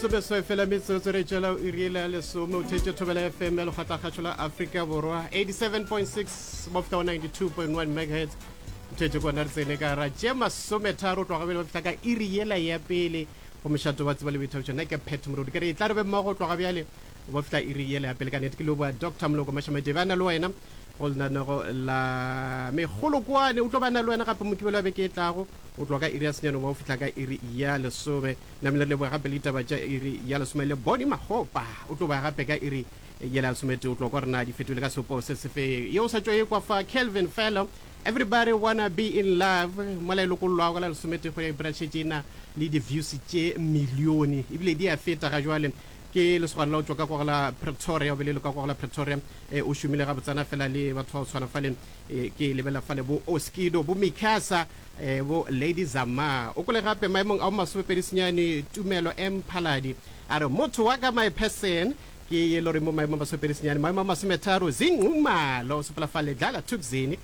Lesomeswai fela metsotso re tšwela iri yela ya lesome o theetše Thobela FM ya Lekgotlakgašo la Afrika Borwa 87.6 mo fihla go 92.1 megahertz. Theetše kona re tsene ka ra tše masometharo tloga bjale ba fihla ka iri yela ya pele go mošato wa tseba le boithabišo. Nna ke Pat Morodi ke re e tla re be mmogo tloga bjale ba fihla iri yela ya pele. Ka nnete ke leboa Doctor Moloko Mashamadebe a na le wena go lenanego la megolokwane. O tlo ba na le wena gape Mokibelo wa beke e tlago o tloga ka iri ya senyane ba o fihla ka iri ya lesome. Namile re leboga gape le ditaba tša iri ya lesome le Bonnie Makgopa o tlo ba gape ka iri yela ya lesometee o tlo kwa rena di fetole ka seopo se sefe ye o sa tšo e kwa fa Kelvin Fellow Everybody Wanna Be In Love mola e lokollwago ka la lesometee kgwedi ya April šetše e na le di-views tše milione ebile di a feta ga jwale. Ke lesogana la go tšwa ka kwa go la Pretoria, o be le le ka kwa go la Pretoria, o šomile gabotsana fela le batho ba go tshwana fale, ke lebelela fale bo Oskido, bo Mikasa, bo Lady Zamar. O kwele gape maemong a bo masomepedi senyane Tumelo M Phaladi a re motho wa ka my person ke ye lore mo maemong a masomepedi senyane, maemo a masometharo Zinqumalo o sepela fale Dlala Thukzini,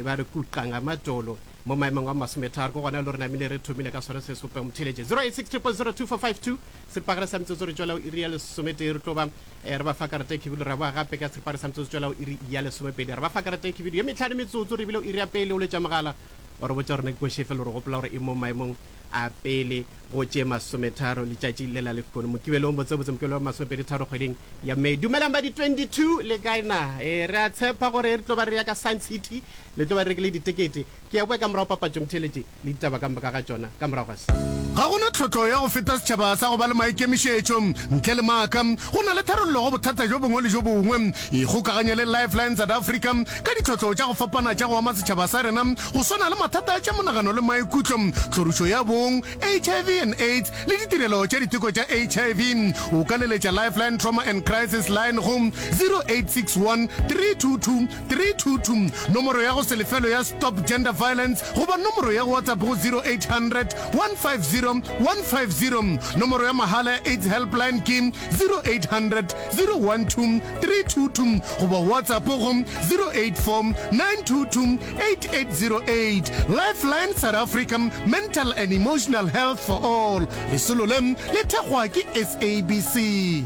ba re kuqa ngamadolo mo maemong a masometharo ke gona le re namile re thomile ka sona se sopeng motheletše 086 000 2452 Seripagare sa metsotso re tšwela go iri ya lesometee re tlo ba re ba fa karata e khibidu ra boa gape ka seripagare sa metsotso tšwela go iri ya lesomepedi re ba fa karata e khibidu ye metlhano metsotso re bile go iri ya pele o letša mogala wa re botša gore na ke košefe le re gopola gore e mo maemong a pele go tše masometharo letšatši le la lehono mokibelong botsebotse mokibelo wa masomepedi tharo kgweding ya May. Dumelang ba di 22 le kae na? E re a tshepa gore re tlo ba re ya ka Sun City le tlo ba re rekile ditekete. Ke ya boa ka morago papatšo motheeletši. le ditaba ka moka ga tšona ka morago ga se. Ga go na tlhotlo ya go feta setšhaba sa go ba le maikemišetšo. Ntle le maaka, go na le tharollo go bothata bjo bongwe le bjo bongwe. Ikgokaganye le Lifeline South Africa ka ditlhotlo tša go fapana tša go ama setšhaba sa rena, go swana le mathata a tša monagano le maikutlo, tlhorišo ya bong, HIV and AIDS le ditirelo tša diteko tša HIV. O ka leletša Lifeline Trauma and Crisis Line go 0861 322 322, nomoro ya go se lefelwe ya Stop Gender Violence goba nomoro ya WhatsApp go 0800 150 150. Nomoro ya mahala ya AIDS Helpline ke 0800 012 322 goba WhatsApp go 084 922 8808. Lifeline South Africa, Mental and Emotional Health for All. Lesolo le le thekgwa ke SABC.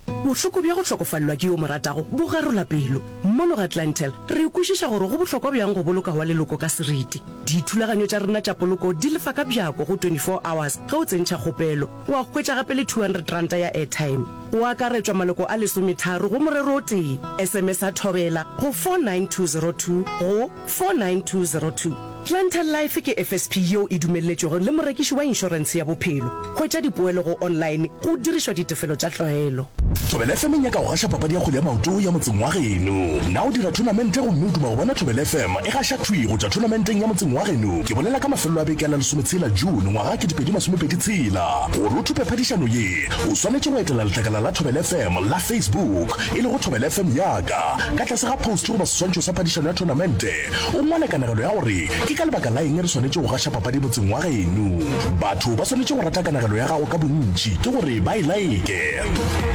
Bohloko bja go hlokofalelwa ke yo o mo ratago bo garola pelo. Mono ga Clientele, re kwešiša gore go bohlokwa bjang go boloka wa leloko ka seriti. Dithulaganyo tša rena tša poloko di lefa ka bjako go 24 hours ge o tsentšha kgopelo. Wa hwetša gape le R200 ya airtime. Go akaretšwa maloko a lesometharo go morero o tee. SMS-a Thobela go 49202 go 49202. Clientele Life ke FSP yeo e dumelletšwego le morekiši wa inšorentshe ya bophelo. Hwetša dipoelo go online go dirišwa ditefelo tša tlwaelo. Thobela FM e nyaka go gaša papadi ya kgwele ya maoto ya motseng wa geno. Na o dira thonamente gomme o duma go bona Thobela FM e gaša thwi go tšwa thonamenteng ya motseng wa geno? Ke bolela ka mafelelo a beke a la lesometshela June ngwaga 2026. Gore o thope phadišano ye, o swanetše go etela letlakala la Thobela FM la Facebook, e lego Thobela FM ya ka, ka tlase ga post goba seswantšho sa phadišano ya thonamente. O ngwale kanegelo ya gore ke ka lebaka la eng re swanetše go gaša papadi motseng wa geno. Batho ba swanetše go rata kanegelo ya gago ka bontši, ke gore ba e laeke.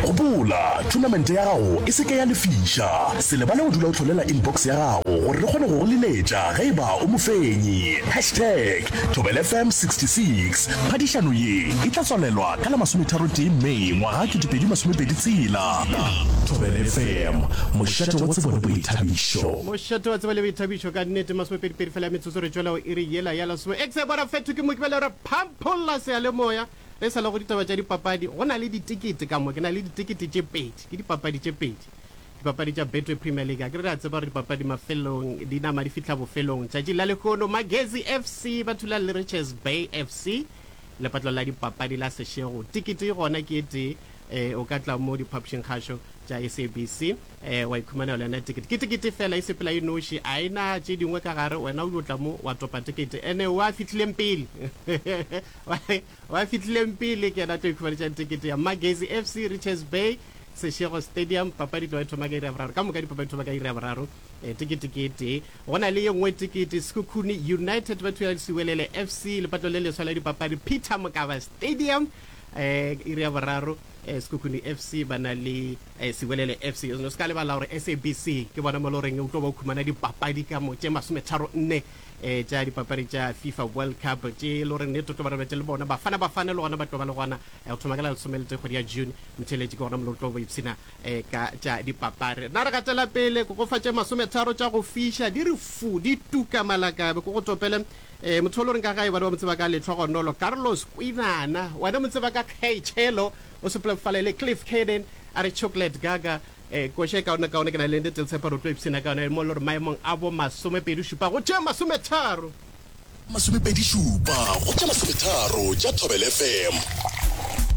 Gopola, thonamente ya gago e se ke ya lefiša. Se lebale go dula o hlolela inbox ya gago gore re kgone go go leletša ge e ba o mofenyi. Hashtag ThobelaFM66. Phadišano ye e tla tswalelwa ka la masometharotee May ngwaga 2026. Thobela FM, mošate wa tsebo le boithabišo. Mošate wa tsebo le boithabišo ka nnete. Masomepedipedi fela ya metsotso re tšwela go iri yela ya lesome. Exe bona fetho ke Mokibelo re phampholla seyalemoya re sa le go ditaba tša dipapadi. Go na le ditekete ka mo, ke na le ditekete tše pedi, ke dipapadi tše pedi. Dipapadi tša Betway Premier League, akere re a tseba gore dipapadi mafelong di nama di fihla bofelong. Tšatšing la lehono Magezi FC ba thulana le Richards Bay FC lepatlo la dipapadi la Seshego. Tikete e gona ke e tee, eh, o ka tla mo diphapošing kgašo tša SABC eh, wa ikhumanela yona tikete. Ke tikete fela e sepela e noši, a e na tše dingwe ka gare, wena o yo tla mo wa topa tikete. Ene wa fihlileng pele wa fihlileng pele ke yena a tlo ikhumanetšang tikete ya Magezi FC Richards Bay Seshego Stadium, papadi tloga e thoma ka iri ya boraro. Ka moka dipapadi thoma ka iri ya boraro. E, tekete ke e tee. Go na le ye nngwe tekete, Sekhukhune United ba thula le Siwelele FC, lepatlo le leswa la dipapadi, Peter Mokaba Stadium, e, iri ya boraro. E, Sekhukhune FC ba na le e, Siwelele FC. O se ka lebala gore SABC ke bona mo le goreng o tlo ba o khumana dipapadi ka mo tše masometharo nne. um tša dipapadi tša FIFA World Cup tše e le gore nnete tlo ba re bete le bona Bafana Bafana le gona ba tlo ba le gona eh, go thoma ka la lesomeletee kgwedi ya June. Motheeletši ke gona mo le tlo bo ipshina eh, ka tša dipapadi. Rena re gatela pele ko go fa tše masometharo tša go fiša di re fu di tuka malakabe ko go topele eh, motho o le goreng ka gae bana ba mo tseba ka Letlhogonolo Carlos Kwinana wena mo tseba ka Kgechelo o sepolefale le Cliff Caden a re Chocolate Gaga Eh, koša e kaone kaone ke na le nnete le tshepa re tlo ipshina ka yona mo le gore maemong a bo masomepedi šupa go tše masometharo. Masomepedi šupa go tše masometharo tša Thobela FM.